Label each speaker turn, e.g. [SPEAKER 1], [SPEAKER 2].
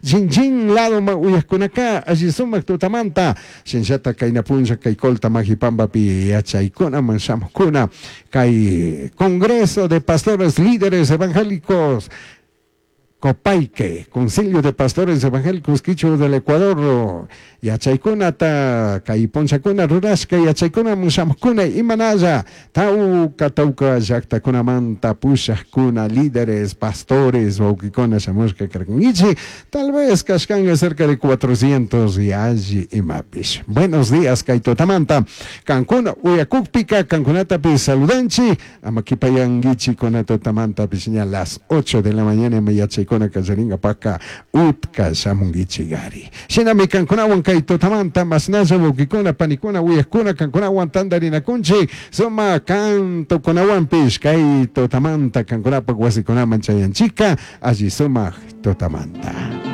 [SPEAKER 1] Chinchín ladoman uyajkunaka alli sumak tutamanta, shinallata kayna punlla kay Colta Majipambapi yachaykunaman shamukuna, kay Congreso de Pastores Líderes Evangélicos Copaique, Concilio de Pastores Evangélicos Quichua del Ecuador, yachaykunata kay punllakuna rurashka yachaykunaman shamukuna imanalla tawka tawka llaktakunamanta pushakuna, líderes, pastores, wawkikuna shamushka karkankichik, tal vez kashkanka cerca de 400 y alli imapish. Buenos días kay tutamanta, kankuna uyakukpika kankunatapish saludanchik, ama kipayankichik kuna tutamantapish ña las 8 de la mañana ima yachaykuna kallaringapaka utka shamunkichik ari. Shinami kankunawan kay tutamanta mashnalla wawkikuna, panikuna, uyakuna kankunawan tantarinakunchik, sumak cantokunawanpish kay tutamanta kankunapak wasikunaman chayanchikka alli sumak tutamanta.